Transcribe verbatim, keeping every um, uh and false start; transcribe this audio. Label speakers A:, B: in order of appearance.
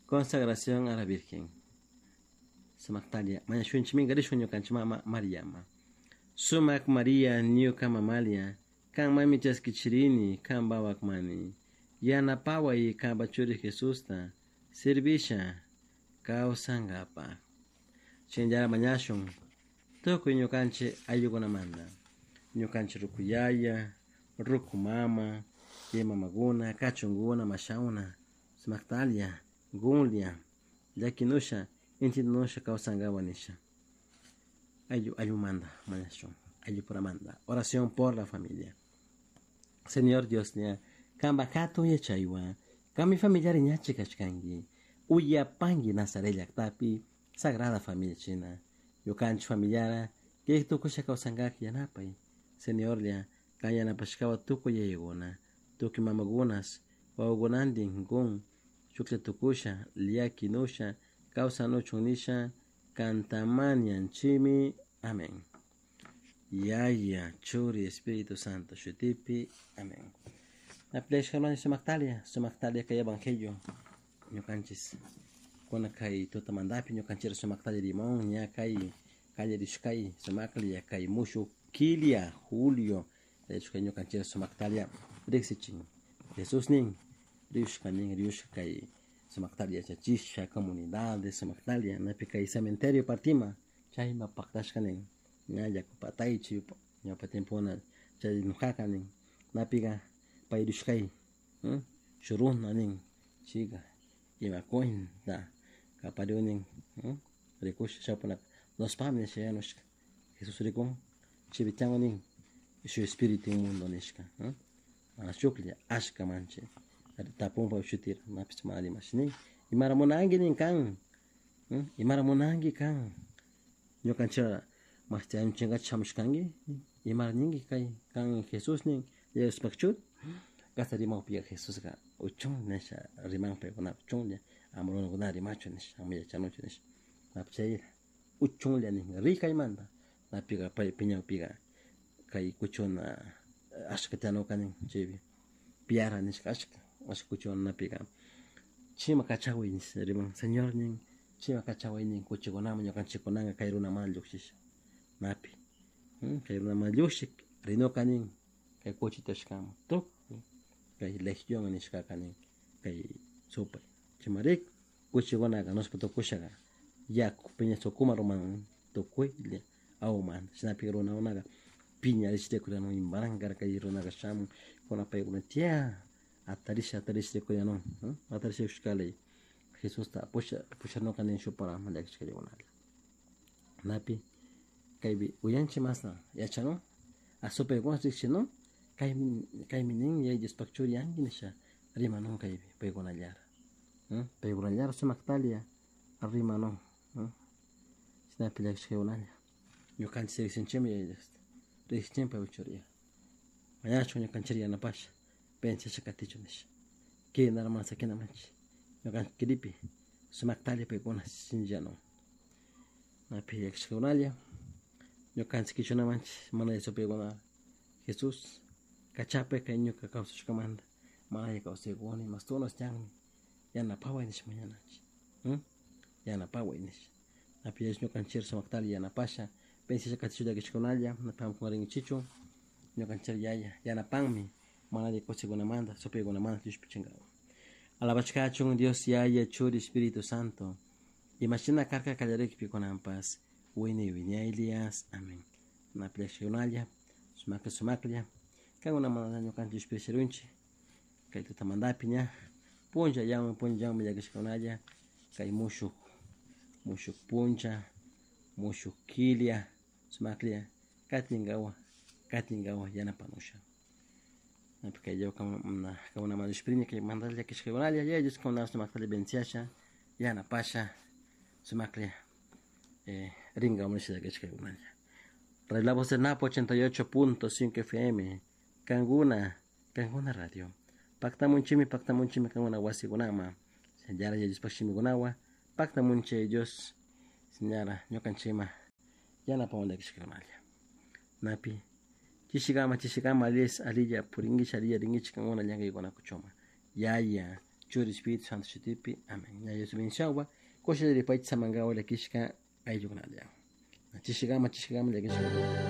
A: Consagración a la Virgen. Sumaqtalia mañashunchik rishun ñukanchik mama Mariama. Sumak Maria ñuka mamalia, kanmanmi chaskichirini kanpa wakmani. Yanapaway kanpa churi Jesusta servisha kawsankapaq. Shinallara mañashun tukuy ñukanchik ayllukunamanta. Ñukanchik rukuyaya, ruku mama, mamakuna, kachunkuna, mashawna, sumaqtalia, gunlia, llakinusha, intinusha kawsankawan nisha. Ayllu ayllumanta mañashun, ayllupuramanta. Oración por la familia. Señor Dios ña, kanpa hatun yachaywan, kanmi familiari ñachi kashkanki, uyapanki Nazaret llaktapi, Sagrada Familia china. Ñukanchik familiara, kay tukusha kawsankak yanapay. Señorlla, kan yanapashkawan tukuy yayakuna, tukuy mamakunas, wawakunantin kun, shuklla tukusha, llakinusha, kawsanuchun nisha, kantamanianchimi. Amén. Yaya, Churi, Espíritu Santo, shutipi. Amén. Napleshkaloni sumaqtalia, sumaqtalia kay evangelio. Ñukanchis kuna kay tutamantapi ñukanchik sumaqtalia limón ña kay kallarishkay sumaqlia kay mushuk kilia julio kay ñukanchik sumaqtalia riqsichin. Jesús nin riushka nin riushka kay sumaqtalia yachachisha comunidades sumaqtalia napi kay cementerio partima chayma paqtashka nin ña yaku pataychi ñawpa tiempona chay nukaka nin napiqa pay rishkay shuruna nin chiga ima cuenta kapariunin rikusha chawpunaka nospami nisha yanushka Jesús rikun chivichango nin shu espíritu inmundo nishka mana shuklla ashka manchi tapunpa shutira napish mana rimash nin imara munanki nin kan imara munanki kan ñukanchik mashtianchinkachi shamushkanki imara ninki kay kan Jesús nin Diospaq churi kasa rimawpiqa Jesusqa uchun nisha riman paykunapi chunlla ama runakuna rimachu nisha ama yachanuchu nisha napi chay uchunlla nin ri kaymanta napiqa pay piñawpiqa kay kuchuna ashka tiyanuka nin chaypi piara nishka ashka ashka kuchuna napiqa chima kachaway nisha riman Señor nin chima kachaway nin kuchikunaman ñukanchikkunaka kay runamanta llukshisha napi kay runamanta llukshik rinuka nin kay kuchita ashkaman tukuy kay legión nishkaka nin kay supay chaymarik kuchikunaka nuspa tukushaka yaku piña sukuma ruman tukuylla awmanta chaynapi runakunaka piñarish rikuranun imaran karka kay runaka shamun kuna paykuna tiyan atarisha atarish rikuranun atarish rikushkalay Jesusta pusha pushanuka nin shuk paraman llakishkallakunalla napi kaypi uyanchik masna yachanun a supaykuna riqshinun kaymi kaymi nin yaya Diospaq churi yanki nisha rimanun kaypi paykunallara paykunallara sumaqtalia rimanun chaynapi llakishkakunalla ñukanchik riqsinchikmi yaya Diosta riqsinchikmi paypak churiya mañachun ñukanchik yanapasha pensasha katichun nisha kinara mana sakinamanchik ñukanchik kiripi sumaqtalla paykuna sinchiyanun napi llakishkakunalla ñukanchik kichunamanchik mana supaykuna Jesús kachapay kay ñuka kawsashkamanta mana kawsaykuni mastunas tiyanmi yanapaway nisha mañananchik yanapaway nisha napi ñukanchik sumaqtalla yanapasha pensasha katichun llakishkakunalla napi hamkunarinkichikchu ñukanchik yaya yanapanmi mana alli kawsaykunamanta supaykunamanta llushpichinkawan. Alabashkachun Dios Yaya Churi Espíritu Santo imashina karka kallarikpi kunanpas wiñay wiñaylias. Amén. Napi llakishkakunalla sumaklla sumaklla kankuna mana ñukanchik llushpirishirunchik kay tutamantapi ña punchallawan punchallawanmi llakishkakunalla kay mushuk mushuk puncha mushuk kilia sumaklla katinkawan katinkawan yanapanusha napi kay kankunamanta llushpirini kay mandalla llakishkakunalla Yaya Dios kankunata sumaqtalla bendiciasha yanapasha sumaklla rinkawan nisha llakishkakunalla. Radio La Voz del Napo ochenta y ocho punto cinco F M Kankuna Kankuna Radio Paktamunchimi paktamunchimi kankuna wasikunama señora Yaya Diospaq shimikunawan paktamunchik Dios señora ñukanchikma yanapawan llakishkakunalla napi chishikama chishikama allis alilla purinkichik alilla rinkichik kankuna llankaykunakuchuma Yaya Churi Espíritu Santo shutipi. Amén. Ña Dios bendicionwa. Kusha ripaychi samankawa llakishka ayllukunalla. Chishikama chishikama llakishka.